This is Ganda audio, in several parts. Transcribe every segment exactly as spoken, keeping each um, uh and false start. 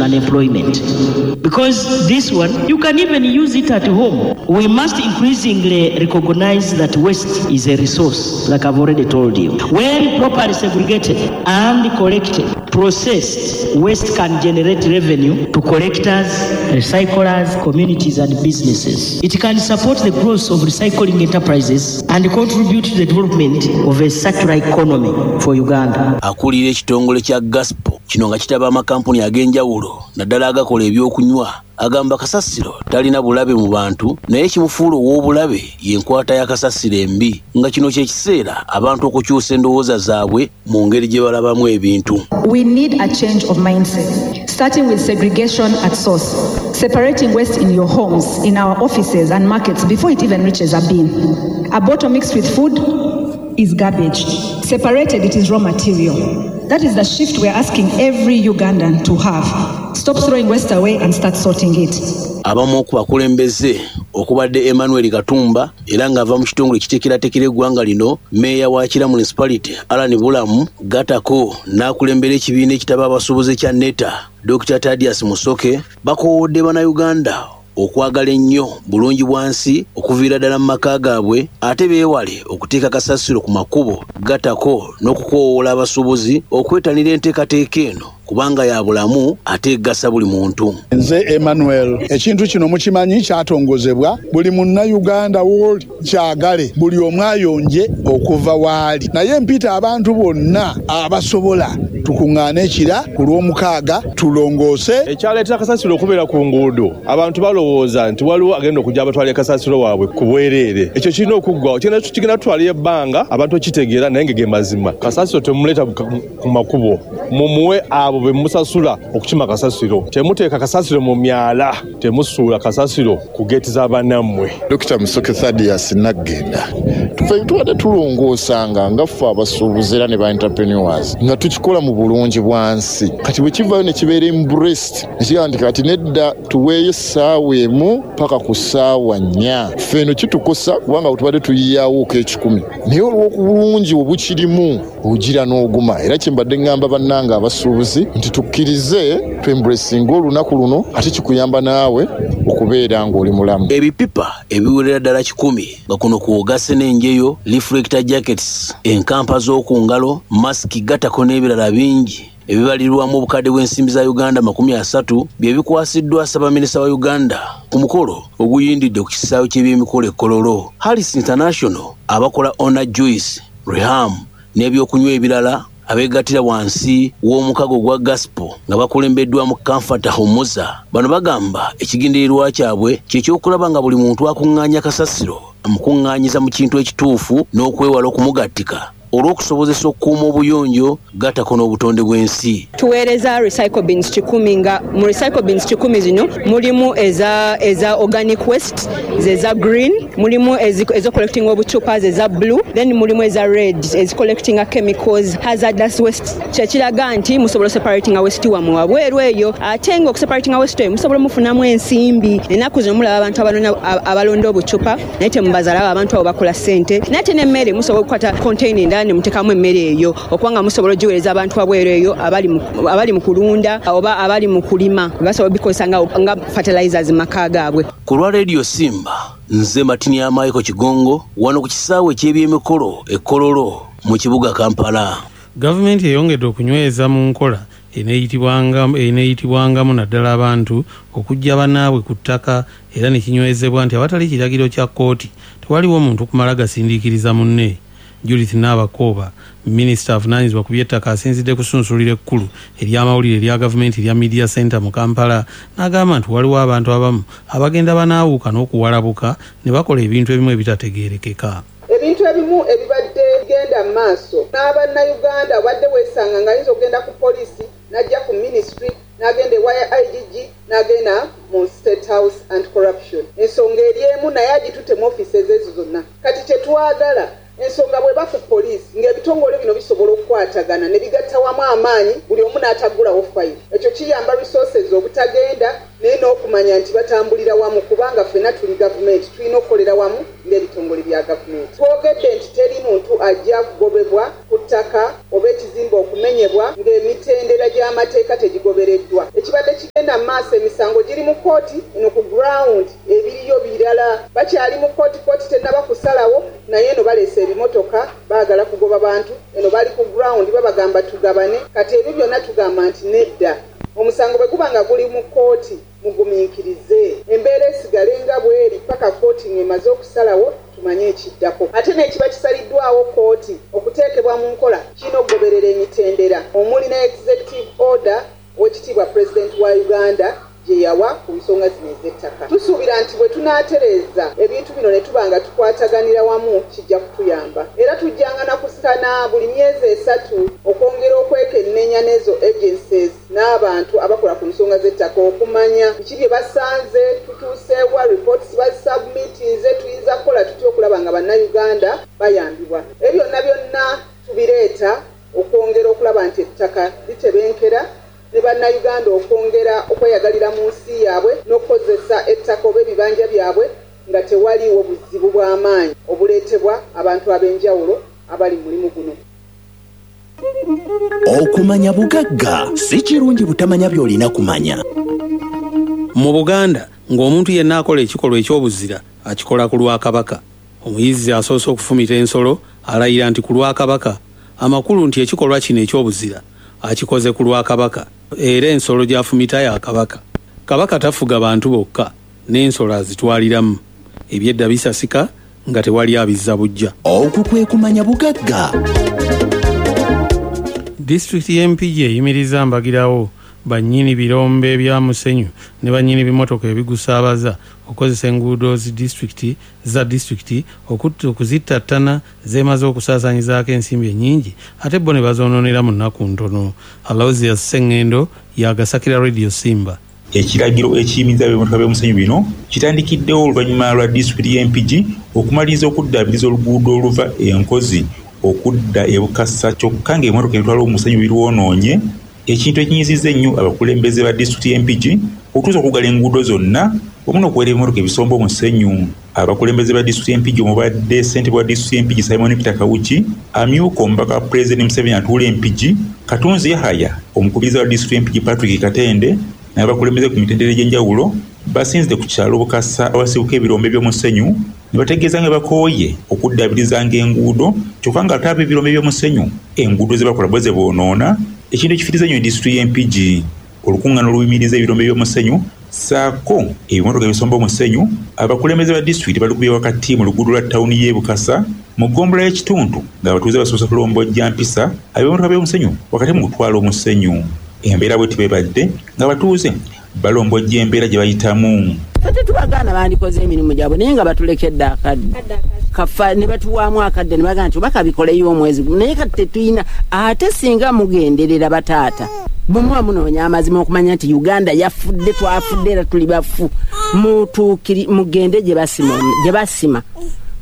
Unemployment. Because this one, you can even use it at home. We must increasingly recognize that waste is a resource, like I've already told you. When properly segregated and collected, processed, waste can generate revenue to collectors, recyclers, communities and businesses. It can support the growth of recycling enterprises and contribute to the development of a circular economy for Uganda. Akulira ekitongole kya Gaspo kino nga kitaba amakampuni ag'enjawulo naddala agakola ebyokunywa agamba kasasiro talina bulabe mu bantu, naye kimufuula ow'obulabe y'enkwata ya kasasiro embi, nga kino kye kiseera abantu okukyusa endowooza zaabwe mu ngeri gye balabamu ebintu. We need a change of mindset, starting with segregation at source, separating waste in your homes, in our offices and markets before it even reaches a bin. A bottle mixed with food is garbage. Separated, it is raw material. That is the shift we are asking every Ugandan to have. Stop throwing waste away and start sorting it. Abamu ku bakulembeze okubadde Emmanuel Katumba era ng'ava mu kitongole ekiteekerateekera eggwanga lino, meeya wa Kira Municipality Alan Bulamu gatako n'akulembera ekibiina ekitaba abasuubuzi kya NETA Doctor Tadias Musoke bakoowodde bannayuganda okwagala ennyo bulungi bwansi okuviira ddala mu maka gaabwe, ate beewale okuteeka kasasiro ku makubo gatako n'okukoowoola abasuubuzi okwetanira enteekateeka eno kubanga ya bulamu ate egasa buli muntu. Nze Emmanuel, ekintu kino mukimanyi kyatongozebwa buli munnayuganda wooli kyagale buli omu ayonje okuva waali, naye mpita abantu bonna abasobola tukuŋŋaane ekira ku lw'omukaaga tulongoose. Ekyaleetera kasasiro okubeera ku nguudo, abantu balowooza nti waliwo agenda okujja abatwala kasasiro waabwe ku bwereere. Ekyo kirina okuggwawo, kigenda tutwalira ebbanga abantu okitegeera, naye nga ge mazima. Kasasiro temuleeta ku makubo, mumuwe abo be musasula okukima kasasiro. Temuteeka kasasiro mu myala, temusuula kasasiro ku geeti z'abannammwe. Dokita Musoke Thaddeus Naggenda, tufe tubadde tulongoosanga nga ffe abasuubuzi era ne ba entrepreneurs nga tukikola mu bulungi bwansi. Kati bwe kivaayo ne kibeera embraced, ne kigamba nti kati nedda tuweeyo essaawa emu paka ku ssaawa nnya. Ffe eno kitukosa kubanga tubadde tuyiyaawoko ekikumi, naye olw'obulungi obukirimu ogira n'oguma. Era kye mbadde ŋŋamba bannange abasuubuzi nti tukkirize twembracinge olunaku luno, ate kikuyamba naawe okubeera ng'oli mulamu. Ebipipa ebiwerera ddala kikumi nga kuno kw'ogasse n'enjeyo, reflector jackets, enkampa z'oku ngalo, masiki gatako n'ebirala bingi ebibalirwamu obukadde bw'ensimbi za Uganda makumi asatu bye bikwasiddwa Ssaabaminisita wa Uganda ku mukolo oguyindidde ku kisaawe ky'ebyemikolo e Kololo. Harris International abakola Ona Juice, Reham n'ebyokunywa ebirala abeegattira wansi w'omukago gwa Gaspo nga bakulembeddwamu Comfort Humuza. Bano bagamba ekigendererwa kyabwe kye ky'okulaba nga buli muntu akuŋŋaanya kasasiro amukuŋŋaanyiza mu kintu ekituufu n'okwewala okumugattika olw'okusobozesa okukuuma obuyonjo gatako n'obutonde bw'ensi. Tuweereza recycle bins kikumi, nga mu recycle bins kikumi zino mulimu eza, eza organic waste, eza green, mulimu ezo collecting obucupa eza blue, then mulimu eza red ezi collecting chemicals, hazardous waste. Kyekiraga nti musobola separating waste wammwe wabweru eyo, ate nga okuseparating waste eyo musobola mufunamu ensimbi. Ennaku zino mulaba abantu abanona abalonda obucupa naye temubazala, abantu abo bakola ssente. Naye ate n'emmere musobola okukwata container endala ne muteekamu emmere eyo okubanga musobola ogiweereza abantu wabweru eyo abali mu kulunda oba abali mu kulima, basobola obikozesa nga, nga fertilizers mu maka gaabwe. Ku lwa Radio Simba, nze Matini Michael Kigongo wano ku kisaawe eky'ebyemikolo e Kololo mu kibuga Kampala. Gavumenti eyongedde okunyweza mu nkola eneeyitibwangamu naddala abantu okuggya bannaabwe ku ttaka, era ne kinywezebwa nti awatali kiragiro kya kkooti tewaliwo muntu kumala gasindiikiriza munne. Judith Nabakooba, minisita avunaanyizibwa ku by'ettaka, asinzidde kusunsulira ekkulu ery'amawulire erya gavumenti erya Media Center mu Kampala n'agamba nti waliwo abantu abamu abagenda banaawuka n'okuwalabuka ne bakola ebintu ebimu ebitategeerekeka. Ebintu ebimu ebibadde bigenda mu maaso n'abannayuganda obadde weesanga ng'ayinza okugenda ku poliisi n'ajja ku ministry n'agenda ewa I G G n'agenda mu State House Anti-Corruption. Ensonga eri emu naye agitutte mu offices ezo zonna. Kati kye twagala ensonga bw'eba ku poliisi ng'ebitongole bino bisobola okukwatagana ne bigatta wamu amaanyi buli omu n'ataggulawo fayiro. Ekyo kiyamba resources obutagenda naye n'okumanya nti batambulira wamu, kubanga ffenna tuli gavumenti, tulina okukolera wamu ng'ebitongole bya gavumenti. Twogedde nti teri muntu ajja kugobebwa ku ttaka oba ekizimbe okumenyebwa ng'emitendera gy'amateeka tegigobereddwa. Ekibadde kigenda mu maaso emisango giri mu kkooti eno ku ground ebiriyo birala bakyali mu kkooti kkooti tennaba kusalawo naye eno baleese ebimotoka baagala kugoba bantu eno bali ku ground babagamba tugabane kati ebyo byonna tugamba nti nedda omusango bwe guba nga guli mu kkooti mugumiikirize embeera esigale nga bweri paka kkooti ng'emaze okusalawo tumanye ekiddako ate n'ekiba kisaliddwawo kkooti okuteekebwa mu nkola kirina okugoberera emitendera omuli ne executive order owekitiibwa pulezidenti wa Uganda gye yawa ku nsonga zino ez'ettaka. Tusuubira nti bwe tunaatereeza ebintu bino ne tuba nga tukwataganira wamu kijja kutuyamba era tujjanga na kusana buli myezi esatu okwongera okwekenneenya n'ezo agencies n'abantu abakola ku nsonga z'ettaka okumanya biki bye basanze tutuuseewa reports bazisubmitinze tuyinza kukola tutya okulaba nga bannayuganda bayambibwa. Ebyo byonna byonna tubireeta okwongera okulaba nti ettaka litebenkera ne bannayuganda okwongera okweyagalira mu nsi yaabwe n'okukozesa ettaka oba ebibanja byabwe nga tewaliiwo buzibu bw'amaanyi obuleetebwa abantu ab'enjawulo abali mu mulimu guno. Okumanya bugagga si kirungi butamanya by'olina kumanya. Mu Buganda ng'omuntu yenna akola ekikolwa eky'obuzira akikola ku lwa Kabaka. Omuyizzi asoose okufumita ensolo alayira nti ku lwa Kabaka, amakulu nti ekikolwa kino eky'obuzira akikoze ku lwa Kabaka era ensolo gy'afumita ya Kabaka. Kabaka tafuga bantu bokka n'ensolo azitwaliramu. Ebyedda bisasika nga tewali abizza bujja. Okwo kwe kumanya bugagga. Disitulikiti y'e Mpigi eyimiriza mbagirawo bannyini birombe bya musenyu ne bannyini bimotoka ebigusaabaza okukozesa enguudo zi disitulikiti za disitulikiti okuzittattana zeemaze okusaasaanyizaako ensimbi ennyingi ate bo ne bazoonoonera mu nnaku ntono. Aloysius Ssengendo yagasakira Radio Simba. Ekiragiro ekiyimiriza ebimotoka by'omusenyu bino kitandikiddewo oluvannyuma lwa disitulikiti y'e Mpigi okumaliriza okuddaabiriza oluguudo oluva e Nkozi okudda e Bukasa kyokka ng'ebimotoka ebitwala omusenyu birwonoonye, ekintu ekinyizizza ennyo abakulembeze ba disitulikiti y'e Mpigi okutuusa okuggala enguudo zonna wamu n'okuwera ebimotoka ebisomba omusenyu. Abakulembeze ba disitulikiti y'e Mpigi omubadde ssentebe wa disitulikiti y'e Mpigi Simon Peter Kawuki, amyuka omubaka wa pulezidenti Museveni atuula e Mpigi, Katunzi Yahaya, omukubiriza wa disitulikiti y'e Mpigi Patrick Katende n'abakulembeze ku mitendera egy'enjawulo basinzidde ku kyalo Bukasa awasibuka ebirombe by'omusenyu ne bategeeza nga bakooye okuddaabirizanga enguudo kyokka nga ate ab'ebirombe by'omusenyu enguudo ze bakola bo ze boonoona, ekintu ekifiriza ennyo disitulikiti y'e Mpigi. Olukuŋŋaana oluyimiriza ebirombe by'omusenyu ssaako ebimotoka ebisomba omusenyu abakulembeze ba disitulikiti balukubye wakati mu luguudo lwa tawuni y'e Bukasa mu ggombolola y'ekitundu ng'abatuuze basoose kulombojja mpisa ab'ebimotoka by'omusenyu wakati mu kutwala omusenyu. Embeera bwe tibebadde ng'abatuuze balombojja embeera gye bayitamu. Ffe tubagaana bandikoze emirimu gyabwe naye nga batulekedde akadde kafa ne batuwaamu akadde ne bagamba nti oba kabikoleyo omwezi gumu naye kati tetulina. Ate singa mugenderera bataata bwe muba munoonya amazima okumanya nti Uganda yafudde twafudde era tuli bafu, mutuukiri mugende gye basima gye basima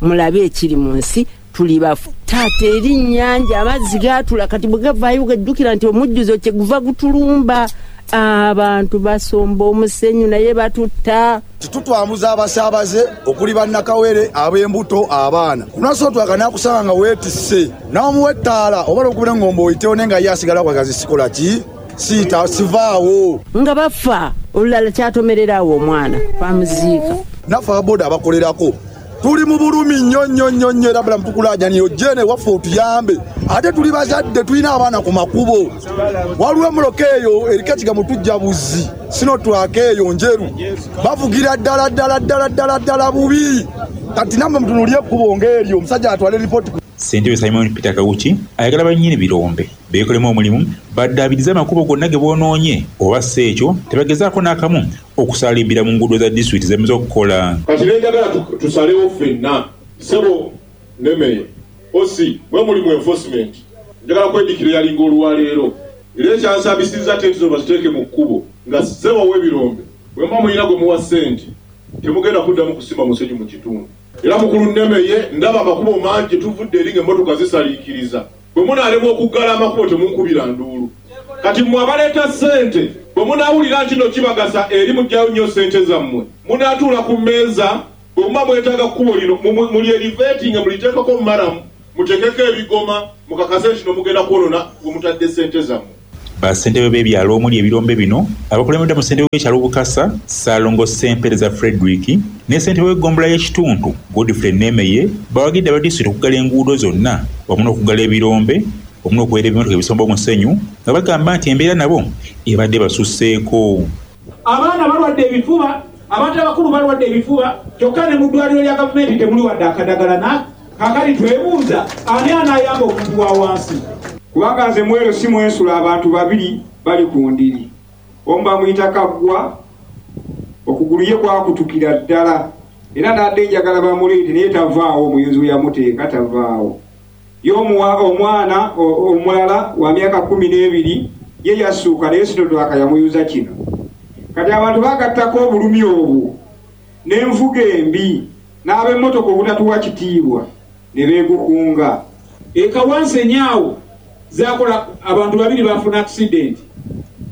mulabe ekiri mu nsi tuli bafu. Taata eri nnyanja amazzi gaatula kati bwe gavaayo gajjukira nti omujjuzo kye guva gutulumba. Abantu basomba omusenyu naye batutta. Tutwambuza abasaabaze okuli bannakawere ab'embuto abaana kunasootwaka nakusanga nga weetisse n'omuwa ettaala oba olwokubira ng'omba oyitewo naye nga ye asigala kwagazi sikola ki siita sivaawo nga bafa. Olulala kyatomererawo omwana bamuziika. Naffe ababoda abakolerako tuli mu bulumi nnyo nnyo nnyo nnyo era bulamu tukulaajanira ojje waffe otuyambe ate tuli bazadde tulina abaana ku makubo. Waliwo emmotoka eyo eriko ekigambo tujja buzzi sinotwaka eyo njeru bavugira ddala ddala ddala ddala ddala bubi. Kati nammwe mutunuulire ekkubo ng'eryo omusajja atwale ripooti. Ssentebe Simon Peter Kawuki ayagala bannyini birombe beekolemu omulimu baddaabirize amakubo gonna ge boonoonye oba si ekyo tebagezaako n'akamu okusaalimbira mu nguudo za disitulikiti zemaze okukola. Kati nenjagala tusalewo ffenna ssebo nemeye osi mwe mulimu enforcement njagala kwedikira yalinga olwaleero era ekyansabisizza tenti zo baziteeke mu kkubo nga ssebo w'ebirombe bwe muba mulina gwe muwa ssente temugenda kuddamu kusima musenyu mu kitundu. Era mukulu Nemeye ndaba amakubo mangi tuvudde eri ng'emmotoka zisaliikiriza bwe munaalema okuggala amakubo temunkubira nduulu. Kati mmwe abaleeta ssente bwe munaawulira nti no kibagasa eri muggyayo nnyo ssente zammwe munaatuula ku mmeeza bwe muba mwetaaga kkubo lino muli eriveetinge muliteekeko mumalamu muteekeko ebigoma mukakase nti no mugenda kwonona we mutadde ssente zammwe. Bassentebe b'ebyalo omuli ebirombe bino abakulembedde mu ssentebe w'ekyalo Bukasa, Ssaalongo Ssempereza Frederick ne ssentebe w'eggombolola y'ekitundu Godfrey Nemeye bawagidde aba disitulikiti okuggala enguudo zonna wamu n'okuggala ebirombe wamu n'okuweera ebimotoka ebisomba omusenyu nga bagamba nti embeera nabo ebadde basusseeko. Abaana balwadde ebifuba, abantu abakulu balwadde ebifuba, kyokka ne mu ddwaliro lya gavumenti temuli wadde akadagala na kaakati twebuuza ani anaayamba omuntu wa wansi. Kubanga nze mwero si mwensula abantu babiri bali ku ndiri, omu bamuyita Kaggwa, okugulu ye kwakutukira ddala era n'adde njagala bamuleete naye tavaawo, omuyunzi we yamuteeka tavaawo. Ye omwana omulala wa myaka kkumi n'ebiri ye yassuuka naye Sinodwaka yamuyuza kino. Kati abantu bagattako obulumi obwo n'envuga embi n'ab'emmotoka obutatuwa kitiibwa ne beegukunga. Ekawansenyi awo zakola abantu babiri bafuna accident,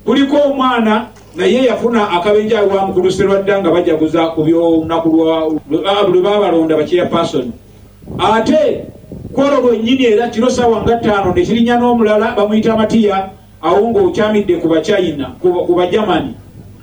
kuliko omwana naye yafuna akabenje awo mukulu Serwadda nga bajaguza ku by'olunaku lwe babalonda ba chairperson, ate kwolwo lwennyini era kiro ssaawa nga ttaano ne kirinnya n'omulala bamuyita Matiya awo ng'okyamidde ku Bachina ku Bajamani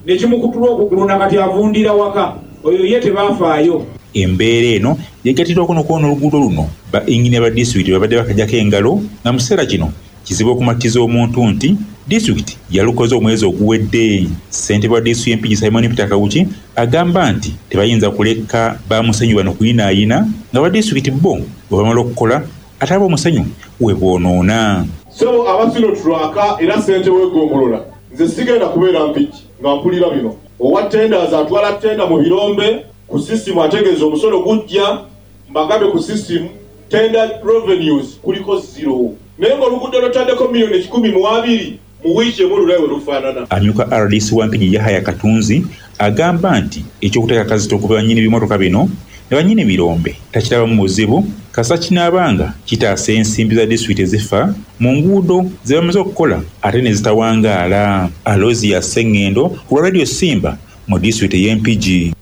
ne kimukutula okugulu nakati avundira waka, oyo ye tebafaayo. Embeera eno yegattirwako n'okwona oluguudo luno ba inginiya ba disitulikiti babadde bakajjako engalo nga mu kiseera kino kizibu okumatiza omuntu nti disitulikiti yalukoze omwezi oguwedde. Ssentebe wa disitulikiti y'Empigi Simon Peter Kawuki agamba nti tebayinza kuleka bamusenyu bano kuyinaayina nga ba disitulikiti bo bwe bamala okukola ate ab'omusenyu we boonoona. Ssebo aba Sinotulaka era ssentebe w'eggombolola, nze sigenda kubeera Mpigi nga mpulira bino. Owa tenders atwala tenda mu birombe ku sisitimu ategeeza omusolo gujja, mbagambe ku sisitimu tender revenues kuliko zero, naye ng'oluguudo lutaddeko miliyoni kikumi mu abiri mu wiiki emu olulayo lufaanana. Amyuka R D C wa Mpigi Yahaya Katunzi agamba nti ekyokuteeka akazito ku bannyini b'emmotoka bino ne bannyini birombe takirabamu buzibu kasita kinaabanga kitaasa ensimbi za disitulikiti ezifa mu nguudo ze bamaze okukola ate ne zitawangaala. Aloysia Ssengendo ku lwa Radio Simba mu disitulikiti ey'e Mpigi.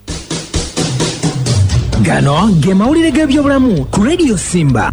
Gano ge mawulire g'ebyobulamu ku Radio Simba.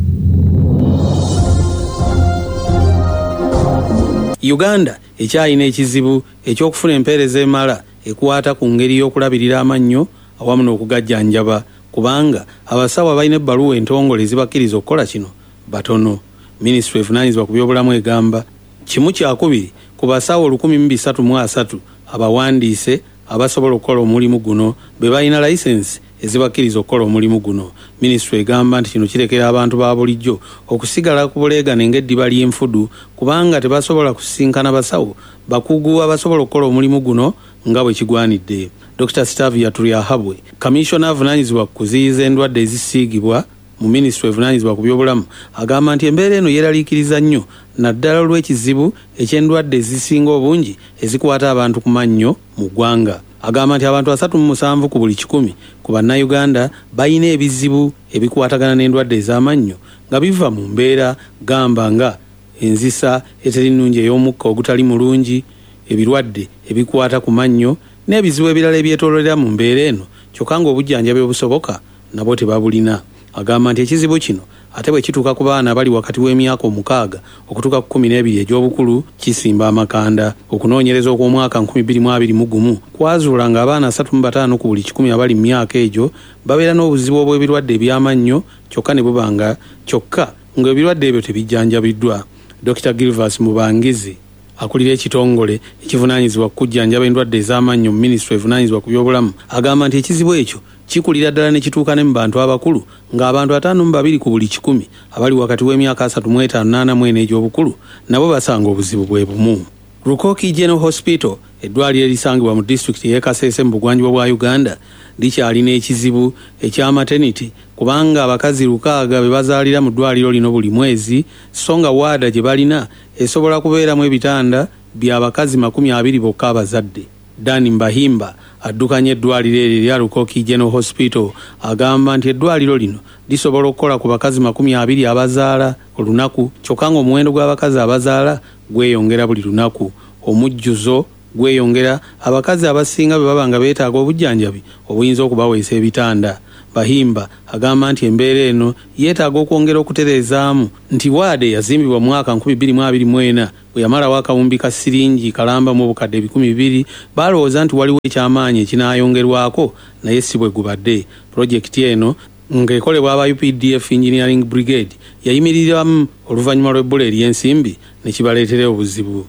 Uganda ekyalina ekizibu eky'okufuna empeereza emala ekwata ku ngeri y'okulabirira amannyo awamu n'okugajjanjaba kubanga abasawo abalina ebbaluwa entongole ezibakkiriza okukola kino batono. Minisitule evunaanyizibwa ku byobulamu egamba kimu kyakubiri ku basawo olukumi mu bisatu mu asatu abawandiise abasobola okukola omulimu guno be balina layisensi ezibakkiriza okukola omulimu guno. Minisitule egamba nti kino kirekera abantu ba bulijjo okusigala ku buleegane ng'eddiba ly'enfudu kubanga tebasobola kusisinkana basawo bakugu abasobola okukola omulimu guno nga bwe kigwanidde. Dokita Stavia Turyahabwe, kamishona avunaanyizibwa ku kuziyiza endwadde ezisiigibwa mu minisitule evunaanyizibwa ku byobulamu, agamba nti embeera eno yeeraliikiriza nnyo naddala olw'ekizibu eky'endwadde ezisinga obungi ezikwata abantu ku mannyo mu ggwanga. Agamba nti abantu asatu mu musanvu ku buli kikumi ku bannayuganda balina ebizibu ebikwatagana n'endwadde ez'amannyo nga biva mu mbeera gamba nga enzisa eteri nnungi ey'omukka ogutali mulungi, ebirwadde ebikwata ku mannyo n'ebizibu ebirala ebyetooloolera mu mbeera eno, kyokka ng'obujjanjabi obusoboka nabwo tebabulina. Agamba nti ekizibu kino ate bwe kituuka ku baana abali wakati w'emyaka omukaaga okutuuka ku kkumi n'ebiri egy'obukulu kisimba amakanda. Okunoonyereza okw'omwaka nkumi bbiri mu abiri mu gumu kwazuula ng'abaana asatu mu bataano ku buli kikumi abali mu myaka egyo babeera n'obuzibu obw'ebirwadde eby'amannyo kyokka ne bubanga kyokka ng'ebirwadde ebyo tebijjanjabiddwa. Dokita Gilvas Mubangizi akulira ekitongole ekivunaanyizibwa ku kujjanjaba endwadde ez'amannyo mu minisitule evunaanyizibwa ku byobulamu agamba nti ekizibu ekyo kikulira ddala ne kituuka ne mu bantu abakulu ng'abantu ataano mu babiri ku buli kikumi abali wakati w'emyaka asatu mu etaano n'ana mu ena egy'obukulu nabo basanga obuzibu bwe bumu. Rukoki General Hospital, eddwaliro erisangibwa mu disitulikiti ey'e Kasese mu bugwanjuba bwa Uganda, likyalina ekizibu ekya maternity kubanga abakazi lukaaga be bazaalira mu ddwaliro lino buli mwezi, so nga waada gye balina esobola kubeeramu ebitanda by'abakazi makumi abiri bokka abazadde. Dan Mbahimba addukanya eddwaliro eryo erya Rukoki General Hospital agamba nti eddwaliro lino lisobola okukola ku bakazi makumi abiri abazaala olunaku, kyokka ng'omuwendo gw'abakazi abazaala gweyongera buli lunaku. Omujjuzo gweyongera, abakazi abasinga bwe baba nga beetaaga obujjanjabi obuyinza okubaweesa ebitanda. Bahimba agamba nti embeera eno yeetaaga okwongera okutereezaamu nti waade yazimbibwa mu mwaka nkumi bbiri mu abiri mu ena Bwe yamalawo akawumbi ka siringi kalamba mu bukadde ebikumi bibiri, balowooza nti waliwo ekyamaanyi ekinaayongerwako, naye si bwe gubadde. Pulojekiti eno ng'ekolebwa aba U P D F Engineering Brigade yayimiriramu oluvannyuma lw'ebbula ery'ensimbi ne kibaleetera obuzibu.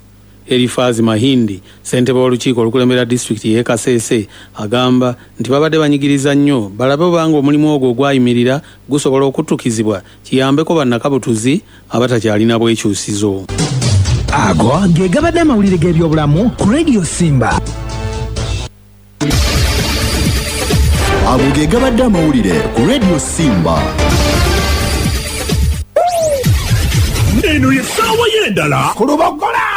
Elifazi Mahindi, ssentebe w'olukiiko olukulembera disitulikiti y'e Kasese, agamba nti babadde banyigiriza nnyo balabe obanga omulimu ogwo ogwayimirira gusobola okutukizibwa kiyambeko bannakabutuzi abatakyalina bwekyusizo. Ago ge gabadde amawulire g'ebyobulamu ku Radio Simba. Ago ge gabadde amawulire ku Radio Simba. Eno ye ssaawa y'endala ku Lubogola.